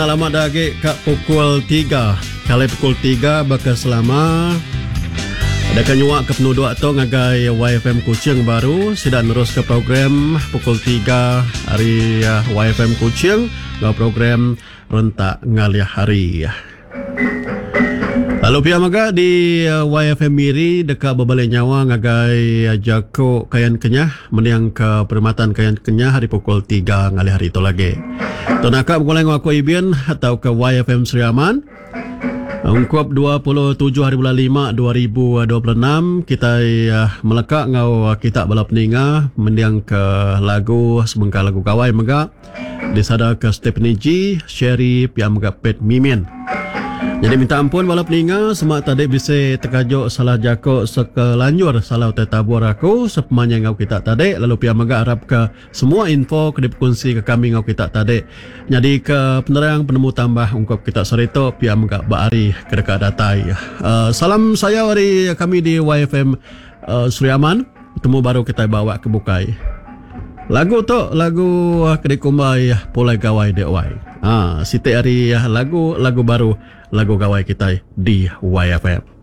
Lama da agi ka pukul tiga. Kali pukul tiga baka selama deka nyua ke penuduk tu ngagai YFM Kuching baru sida neruska program pukul tiga ari YFM Kuching enggau program rentak ngalih hari. Lalu pia mega di YFM Miri deka bebali nyawa ngagai jaku Kayan Kenyah mendingka Perkhidmatan Kayan Kenyah ari pukul tiga ngalih hari tu lagi. Tu naka begulai enggau aku Ibin tauka YFM Sri Aman. Ungkup 27 hari bulan lima 2026 kitai meleka enggau kita bala peninga mendingka lagu sebengkah lagu gawai mega. Disadaka Stephanie G, Sherry pia mega Pat Mimin. Nyadi minta ampun bala peninga sema tadi bisi tekajuk salah jako sekelanjur salah utai tabur aku sepemanjai enggau kita tadi lalu pia mega arapka semua info ke dipekunsika kami enggau kita tadi nyadika penerang penemu tambah ungkup kita sehari tu pia mega ba hari ke deka datai. Salam sayau ari kami di YFM Sri Aman. Betemu baru kitai ba awak ke bukai. Lagu tu lagu ke dikumbai Pulai Gawai Dek Wai. Ha, siti ari lagu lagu baru lagu gawai kitai di YFM.